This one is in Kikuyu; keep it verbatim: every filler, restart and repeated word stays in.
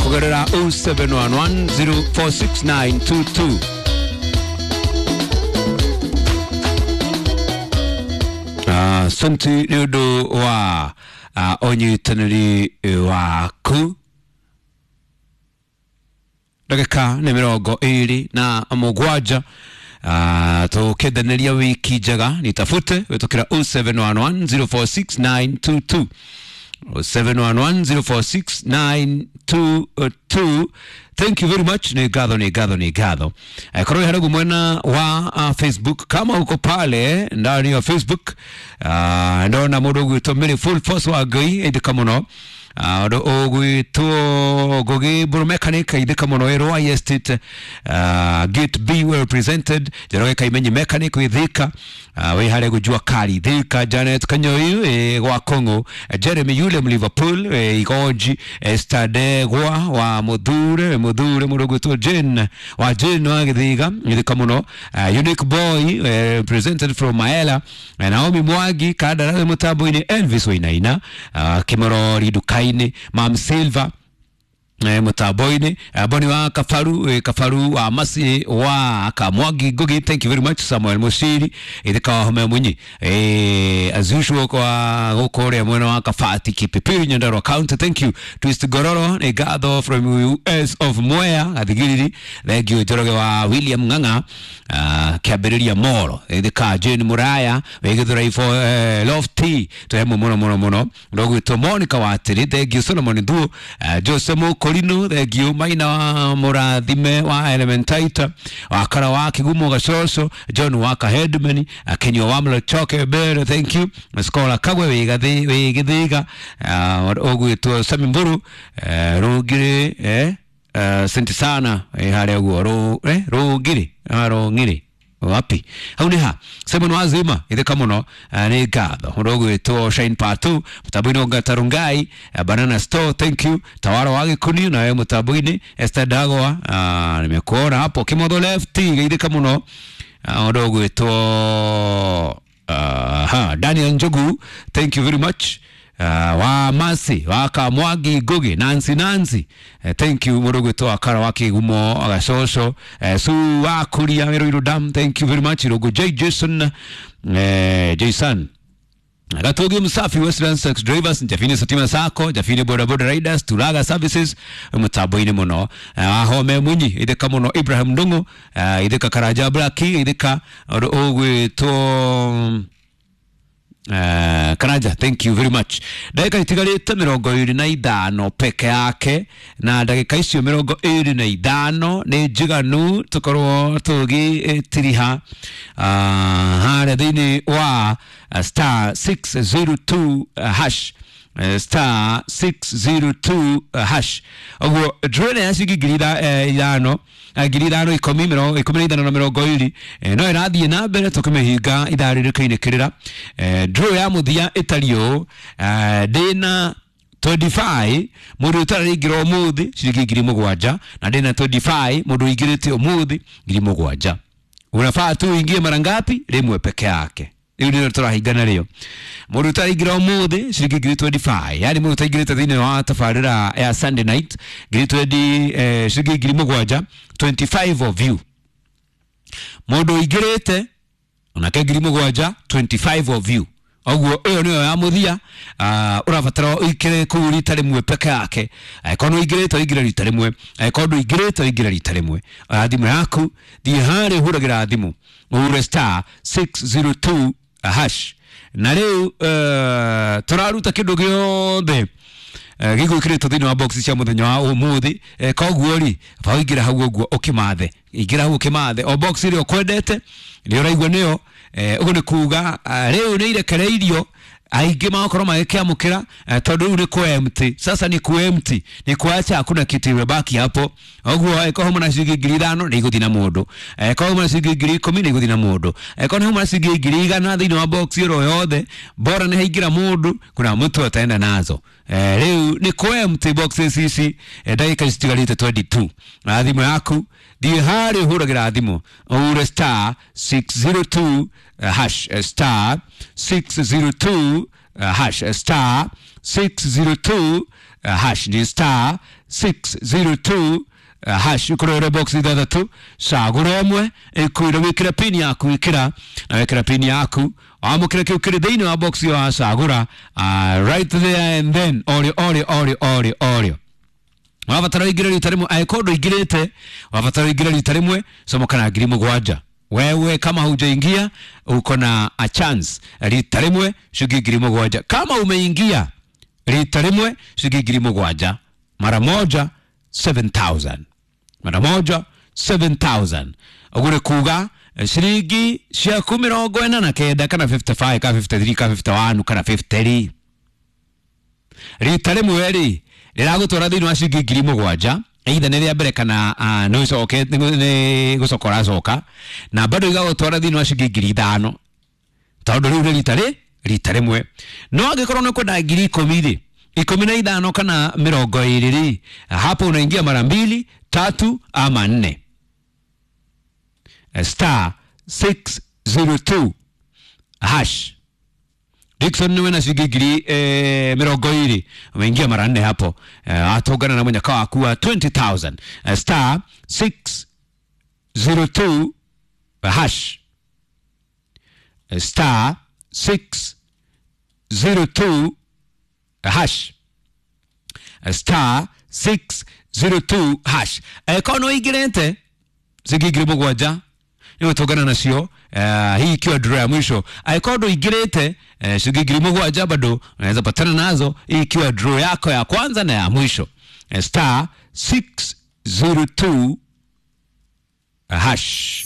Kugerera oh seven one one zero four six nine two two. Asante nĩ ũndũ wa ũnyitanĩri waku. Ndagĩka nĩ mĩrongo ĩrĩ na mũgwanja. Tũkĩendanĩria wiki njega, nitafute wĩtũkĩra oh seven one one zero four six nine two two. oh seven one one zero four six nine two two. Thank you very much. Ni ngatho, ni ngatho, ni ngatho. Korwo harĩa mwena wa uh, Facebook, kama uko pale ndani ya Facebook, uh, ndona mũndũ ũgwĩtwo Mary Full Force wa Ngai ĩthĩka mũno. Ũndũ ũgwĩtwo Ngugi Mburu Mechanic ĩthĩka mũno ĩrwa Estate, uh, Gate B well represented. Njoroge Kaimenyi Mechanic wĩ Thika, uh, wĩ harĩa gũjua kari Thika. Janet Kanyoi wĩ gwa Kong'o, Jeremy Yule Liverpool wĩ Igonji, Esther Ndegwa wa Muthure, Muthure mũndũ ũgwĩtwo Jane wa Jane wa Gĩthiga ĩthĩka mũno. Uh, Unique Boy uh, presented from Maela, Naomi Mwangi Kandara wĩ mũtambo-inĩ, Elvis Wainaina, uh, Kimorori Nduka-inĩ, Mam Silva eh, mũtambo-inĩ, Boni wa Kabaru, eh, Kabaru wa Masi wa Kamwangi Ngugi, thank you very much. Samuel Mushiri ithika wa Home Munyi, eh, as usual kwa gũkũ ũrĩa mwena wa Kabati Kipipiri Nyandarua County, thank you. Twist Gororo nĩ ngatho from U S of Mwea Gathigiriri, thank you. Njoroge wa William Ng'ang'a, uh, kĩambĩrĩria Moro ithika. Jane Muraya wĩ Gĩthũrai for, eh, Lofty twĩhamwe mũno mũno mũno. Ndogwĩtwo Monica Watĩrĩ, thank you. Solomon Thuo, uh, Jose Mũkũrinũ, thank you. Maina wa Mũrathime wa Elementaita, wa Kara wa Kigumo Gacoco, John wa Kahedman, Kenywa wa Mlochoke Mbere, thank you. Skola Kagwe wĩ Gathi-, wĩ Gĩthiga, uh, ũgwĩtwo Sami Mburu, uh, Rũngirĩ, eh, uh, senti sana, eh, harĩa ũguo, Rũ-, eh, Rũngirĩ, ah, Rũng'irĩ wapi hau nĩ ha. Simon Wazima ithika mũno, uh, nĩ ngatho. Ũndũ ũgwĩtwo Shine Patu mũtambo-inĩ, Ongata Rungai, uh, Banana Store, thank you. Tawara wa Gĩkũniũ nawe mũtambo-inĩ, Esther Ndagwa, uh, nimekuona hapo. Kimotho Lefty ithika mũno. Ũndũ ũgwĩtwo, uh, ha, Daniel Njogu, thank you very much. Uh, wa Masi wa Kamwangi Ngugi, Nancy Nancy, uh, thank you. Mũndũ ũgwĩtwo Wakara wa Kĩgumo Gacoco, uh, Su wa Kuria Wĩrũirũ Dam, thank you very much. Irũngũ J Jason, uh, Jason Gatugi Msafi, Westland Sex Drivers, Jafini Satima Sacco, Jafini Boda Boda Riders, Turaga Services, mũtambo-inĩ mũno. Uh, Ahome Munyi ithika mũno. Ibrahim Ndung'u, uh, ithika Karaja Blaki ithika. Ũndũ ũgwĩtwo Uh, Karanja, thank you very much. Ndagĩka itigarĩte mĩrongo ĩrĩ na ithano peke yake, na ndagĩka icio mĩrongo ĩrĩ na ithano nĩ njiganu tũkorwo tũgĩtiriha, uh, harĩa thĩinĩ wa star six zero two hash, star six zero two hash. Ũguo draw ya ciringi ngiri ithano, ngiri ithano ikũmi, mĩrongo ikũmi na ithano na mĩrongo ĩrĩ, no ĩrathiĩ na mbere tũkĩmĩhinga ithaa rĩrĩ rĩkainĩkĩrĩra. Draw ya mũthia ĩtariĩ ũũ, ndĩna twenty-five mũndũ ũtaraingĩra ũmũthĩ ciringi ngiri mũgwanja, na ndĩna twenty-five mũndũ ũingĩrĩte ũmũthĩ ngiri mũgwanja. Unafaa tu uingie mara ngapi? Rĩmwe peke yake. Rĩu nĩrĩo tũrahingana rĩo. Mũndũ ũtaraingĩra ũmũthĩ ciringi ngiri twenty-five, yaani mũndũ ũtaingĩrĩte thĩinĩ wa tabarĩra ya Sunday night ngiri twenty, eh, ciringi ngiri mũgwanja, twenty-five of you. Mũndũ ũingĩrĩte onake ngiri mũgwanja, twenty-five of you. Ũguo ĩyo nĩyo ya mũthia, uh, ũrabatara ũingĩre kũu rita rĩmwe peke yake. Angĩkorwo nĩ ũingĩrĩte ũingĩre rita rĩmwe, angĩkorwo ndũingĩrĩte ũingĩre rita rĩmwe. Oya thimũ yaku, thiĩ harĩa ũhũragĩra thimũ, ũhure star six zero two hash. Na rĩu, uh, tũraruta kĩndũ gĩothe gĩgwĩkĩrĩtwo thĩinĩ wa box cia mũthenya wa ũmũthĩ. Koguo rĩ, ba ũingĩre hau ũguo ũkĩmathe, ingĩra hau ũkĩmathe o box ĩrĩa ũkwendete, ĩrĩa ũraigua nĩyo. Ũguo nĩ kuga rĩu nĩ irekereirio aingĩ magakorwo magĩkĩamũkĩra, tondũ rĩu nĩ kũ empty. Sasa ni ku empty, ni kuacha hakuna kitu imebaki hapo. Ũguo angĩkorwo hauma na ciringi ngiri ithano nĩ igũthiĩ na mũndũ, angĩkorwo hauma na ciringi ngiri ikũmi nĩ igũthiĩ na mũndũ, angĩkorwo hauma na ciringi ngiri igana thĩinĩ wa box ĩro yothe, bora nĩ haingĩra mũndũ, kuna mtu ataenda nazo. Rĩu nĩ kũ empty boxes ici, ndagĩka citigarĩte twenty-two. Na thimũ yaku thiĩ harĩa ũhũragĩra thimũ, ũhure star six zero two hash, star six zero two hash, star six zero two uh, hash. Ni star six zero two uh, hash. Ukurore box ithathatu, cagura ĩmwe ĩkwĩre wĩkĩre pin yaku, ĩkĩra na wekĩra pin yaku wamũkĩre kĩu kĩrĩ thĩinĩ wa box ĩyo wacagũra, uh, right there and then, orĩo orĩo orĩo orĩo orĩo. Wabatara ũingĩre rita rĩmwe, angĩkorwo ndũingĩrĩte wabatara ũingĩre rita rĩmwe, comoka na ngiri mũgwanja. Wewe kama hujaingia uko na a chance, rita rĩmwe shilingi ngiri mũgwanja. Kama umeingia rita rĩmwe shilingi ngiri mũgwanja, mara moja seven thousand, mara moja seven thousand. Ũguo nĩ kuga ciringi ciaku mĩrongo ĩna na kenda kana fifty five kana fifty three kana fifty one kana fifty three rita rĩmwe rĩ rĩragũtwara thĩinĩ wa ciringi ngiri mũgwanja, either nĩ rĩa mbere kana uh, nĩ ũcoke nĩ gũcoka ũracoka, na bado igagũtwara thĩinĩ wa ciringi ngiri ithano tondũ rĩu nĩ rita rĩ rita rĩmwe. No angĩkorwo nĩ ũkwenda ngiri ikũmi rĩ, ikũmi na ithano kana mĩrongo ĩrĩ rĩ, hapo unaingia mara mbili, tatu ama nne. Star six zero two hash. Dickson niwe na shilingi ngiri eh, mĩrongo ĩrĩ, umeingia mara nne hapo, eh, atũngana na mũnyaka waku wa twenty thousand. Eh, star six zero two hash. Eh, star six zero two hash. Eh, star six zero two hash. Eh, kono ũingĩrĩte ciringi ngiri mũgwanja nĩgũtũngana nacio, eh, hii ikiwa draw ya mwisho. Angĩkorwo ndũingĩrĩte, eh, shilingi ngiri mũgwanja bado unaweza patana nazo, hii ikiwa draw yako ya kwanza na ya mwisho. Eh, star six zero two hash.